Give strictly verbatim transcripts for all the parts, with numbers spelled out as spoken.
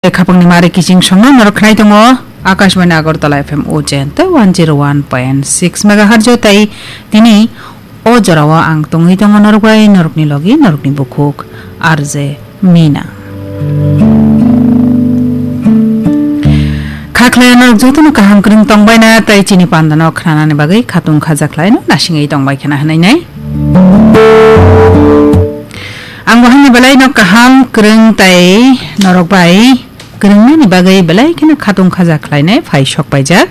Khapangni mari kiching songno norok khnai tongo Akashbani Agartala F M Ujjain tei one zero one point six megahertz o tei tini o jorao ang tongwi tongo norok bai norokni logi norokni bukhuk R J Mina. Kha khlai norok jotono kaham kwrwng tongbaina tei chini pandano khnanani bagwi khatung khaja khlaino nasingwi tongbai khna hwnwi nai. Ang bo haini belai no kaham kwrwng tei norok bai kwrwngnani bagwi belai kheno khatung khaja khlainai phai sok paijak.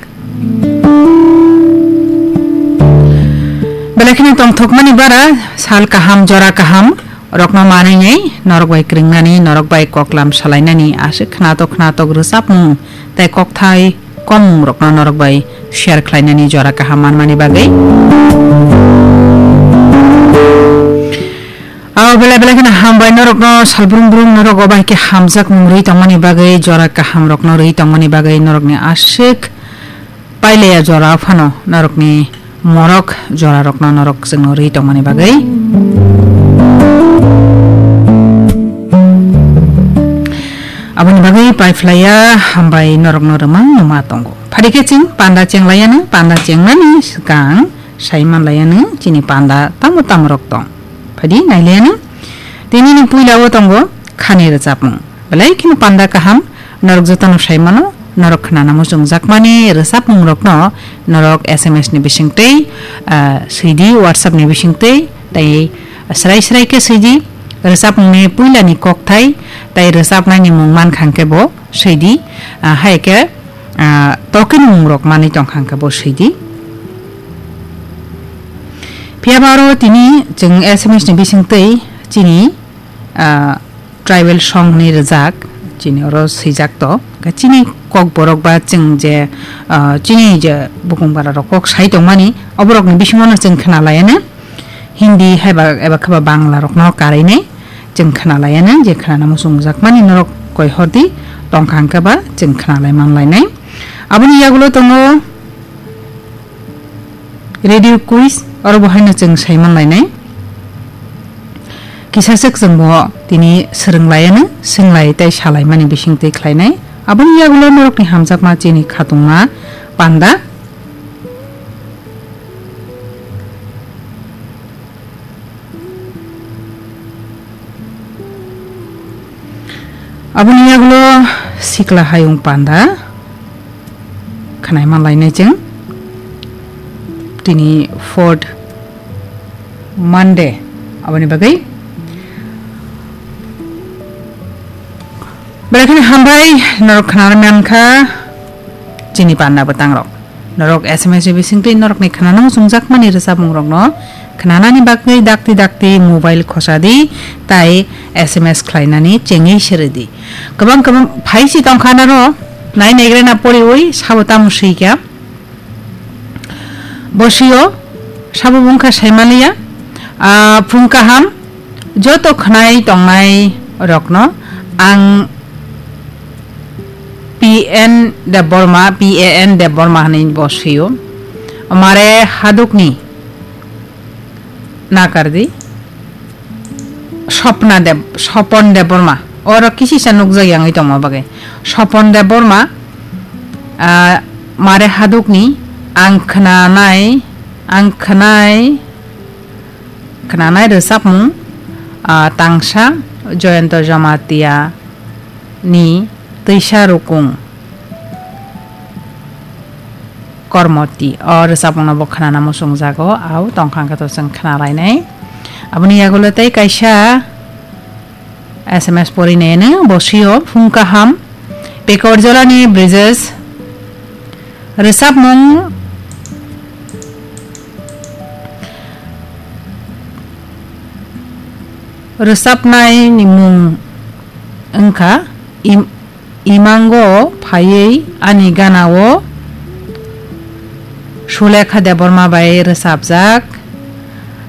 Belai kheno tongthokmani bara sal kaham jora kaham rokno manwi norok bai kwrwngnani norok bai koklam salainani aswk khnatok khnatok rwchapmung tei kokthai komung rokno norok bai share khlainani jora kaham manmani bagwi. Abo belai belai kheno hambai norokno salbrum brum norok obo hai khe hamjakmung rwi tongmani bagwi jora kaham rokno rwi tongmani bagwi norokni aswk pailaya jora phano norokni morok jora rokno norok chwngno rwi tongmani bagwi. Aboni bagwi paiphlaiya hambai norokno rwmang numa tongo. Phadi khe chwng panda chenglaiyanw, panda chengnani swkang sai manlaiyanw chini panda tamo tamo rok tong. Phadi nailaiyanw. Tinini puila o tongo khani rwchapmung. Belai kheno panda kaham norok jotono sai mano, norok khnana muchungjakmani rwchapmung rokno norok S M S ni bisingtwi, ah, swidi WhatsApp ni bisingtwi tei srai srai khe swidi rwchapmungni puilani kokthai tei rwchapnaini mung mankha hwnkhe bo swidi, ah, hai khe, ah, tokeni mung rok manwi tongkha hwnkhe bo swidi. Phiya ba aro tini chwng S M S ni bisingtwi chini, ah, tribal song hwnwi rwjak, chini oro swijak to. Khe chini kokborok ba chwng je, ah, chini je bukung bara rok kok sai tongmani, oborokni bisingo no chwng khna laiya no. Hindi hai ba eba khe ba Bangla rokno karwi nai chwng khna laiya no, je khnana muchungjakmani norok koi hordi tongkha hwnkhe ba chwng khna lai man lainai. Aboni yagulo tongo radio quiz, oro bo haino chwng sai man lainai. Kisa swk chwng bo tini swrwng laiya no, swng lai tei sa laimani bising twi khlai nai. Aboni yagulo norokni hamjakma chini khatungma panda. Aboni yagulo sikla hayung panda khnai man lainai chwng tini fourth Monday aboni bagwi. Belai kheno hambai norok khnana mankha chini panda bwtang rok. Norok S M S ni bisingtwi norokni khnana muchungjakmani rwchapmung rokno khnanani bagwi dakti dakti mobile khosadi tai S M S khlainani chengwi siridi. Kwbang kwbang phaisi tongkha naro nai naigrena poriwi sabo tamo swikha. Bosio sabo bungkha saimaliya, ah, phung kaham joto khnai tongnai rokno ang P N Debbarma, P A N Debbarma hwnwi bosio. Mare hadukni nakardi. Sopna Deb-, Sopon Debbarma. Oro kisisa nukjak yangwi tongma bagwi. Sopon Debbarma, ah, mare hadukni ang khnanai, ang khnai, khnanai rwchapmung, ah, tangsa Joyonto Jamatia ni Twisa Rukung. Kormoti. O rwchapmungno bo khnana muchungjago, au tongkha hwnkhe to chwng khna lainai. Aboni yagulo tei kaisa S M S porinai no, bosio phung kaham, Pekorjolani Brijesh, rwchapmung, rwchapnai ni mung wngkha Im-, Imango phaiwi ani gana-o Sulekha Debbarma bai rwchapjak.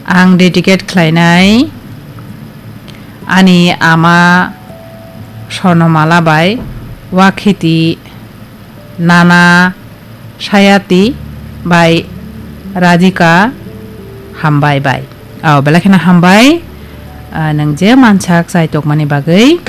Ang dedicate khlainai ani ama Swarnamala bai, Wakhiti Nana Sayati bai Radhika Hambai bai. Oh, belai kheno hambai, ah, nwng je mansak chai tokmani bagwi.